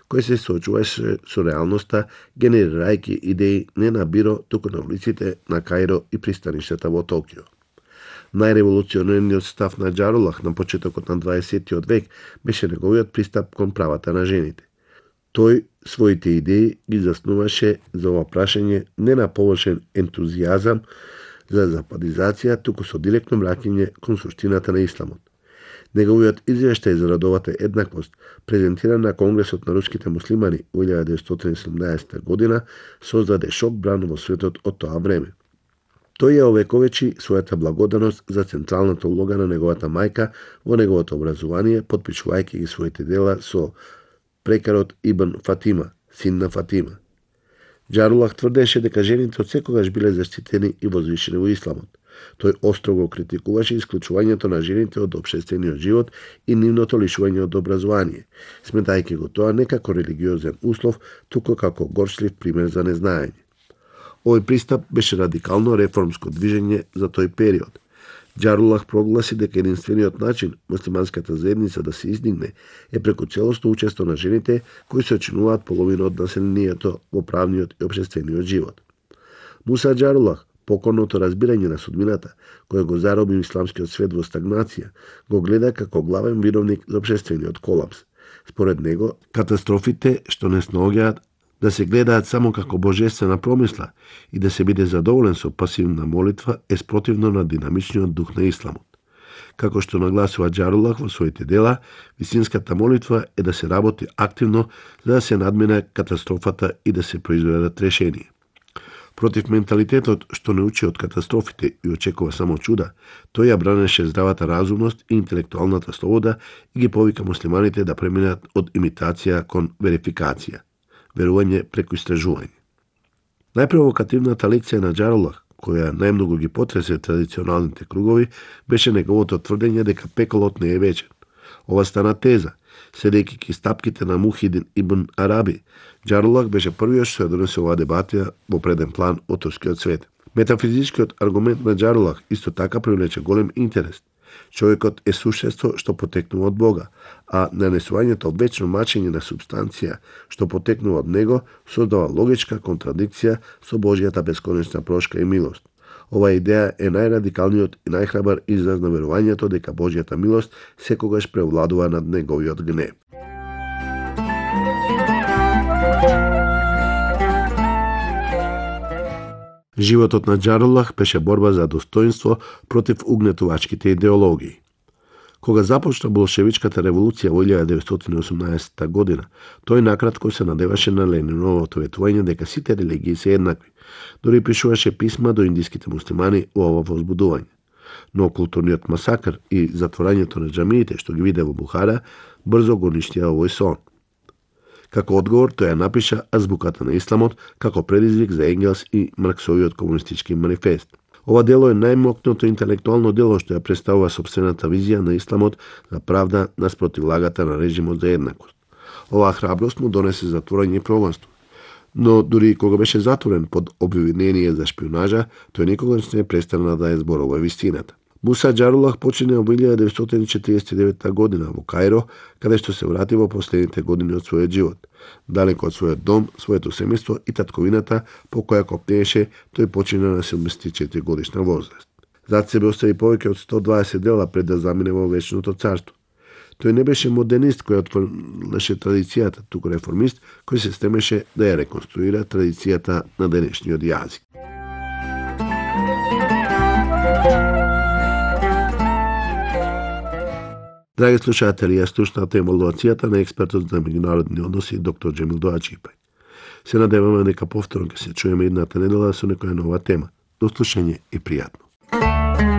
кој се соочуваше со реалноста, генерирајќи идеи не на биро, туку на улиците на Каиро и пристаништата во Токио. Најреволуционерниот став на Џарулах на почетокот на 20. век беше неговиот пристап кон правата на жените. Тој своите идеи ги заснуваше за ова прашање не на површен ентузијазам за западизација, туку со директно враќање кон суштината на исламот. Неговиот извештај за родовата еднаквост, презентиран на Конгресот на руските муслимани во 1917 година, создаде шок бран во светот од тоа време. Тој ја овековечи својата благодарност за централната улога на неговата мајка во неговото образование, потпишувајќи ги своите дела со прекарот Ибн Фатима, син на Фатима. Џарулах тврдеше дека жените од секогаш биле заштитени и возвишени во исламот. Тој остро го критикуваше исклучувањето на жените од општествениот живот и нивното лишување од образование, сметајќи го тоа не како религиозен услов, туку како горчлив пример за незнаење. Овој пристап беше радикално реформско движење за тој период. Џарулах прогласи дека единствениот начин муслиманската заедница да се издигне е преку целосно учество на жените кои се очинуваат половина од населението во правниот и општествениот живот. Муса Џарулах, покорното разбирање на судбината, која го зароби исламскиот свет во стагнација, го гледа како главен виновник за општествениот колапс. Според него, катастрофите што не снаоѓаат да се гледаат само како божествена промисла и да се биде задоволен со пасивна молитва е спротивно на динамичниот дух на исламот. Како што нагласува Џарулах во своите дела, вистинската молитва е да се работи активно за да се надмине катастрофата и да се произведат решенија. Против менталитетот што не учи од катастрофите и очекува само чуда, тој ја бранеше здравата разумност и интелектуалната слобода и ги повика муслиманите да преминат од имитација кон верификација, верување преку истражување. Најпровокативната лекција на Џарулах, која најмногу ги потресе традиционалните кругови, беше неговото тврдење дека пеколот не е вечен. Ова стана теза, следејќи ки стапките на Мухидин ибн Араби. Џарулах беше првиот што ја донесе оваа дебатија во преден план од турскиот свет. Метафизичкиот аргумент на Џарулах исто така привлече голем интерес. Човекот е суштество што потекнува од Бога, а нанесувањето вечно мачење на субстанција што потекнува од него создава логичка контрадикција со Божјата бесконечна прошка и милост. Ова идеја е најрадикалниот и најхрабар израз на верувањето дека Божјата милост секогаш превладува над неговиот гнев. Животот на Џарулах беше борба за достоинство против угнетувачките идеологии. Кога започна болшевичката револуција во 1918 година, тој накратко се надеваше на Лениновото ветување дека сите религии се еднакви. Дори пишуваше писма до индиските муслимани во ова возбудување. Но културниот масакр и затворањето на џамиите што ги виде во Бухара брзо го уништија овој сон. Како одговор, тој ја напиша азбуката на исламот како предизвик за Енгелс и Марксовиот комунистички манифест. Ова дело е најмокното интелектуално дело што ја представува сопствената визија на исламот за правда наспротив лагата на режимот за еднакост. Оваа храброст му донесе затворање и проганство. Но дури кога беше затворен под обвинение за шпионажа, тој никогаш не престана да ја зборува вистината. Муса Џарулах почине во 1949 година во Каиро, каде што се врати во последните години од својот живот. Далеко од својот дом, своето семејство и татковината по која копнееше, тој почина на 74 годишна возраст. Зад себе остави повеќе од 120 дела пред да замине во вечното царство. Тој не беше модернист кој отфрлеше традицијата, туку реформист кој се стремеше да ја реконструира традицијата на денешниот јазик. Драги слушатели, ја слушнате емалуацијата на експертот за меѓународни односи доктор Џемил Доаџипај. Се надеваме дека повторно ќе се чуеме едната недела со некоја нова тема. До слушање и пријатно.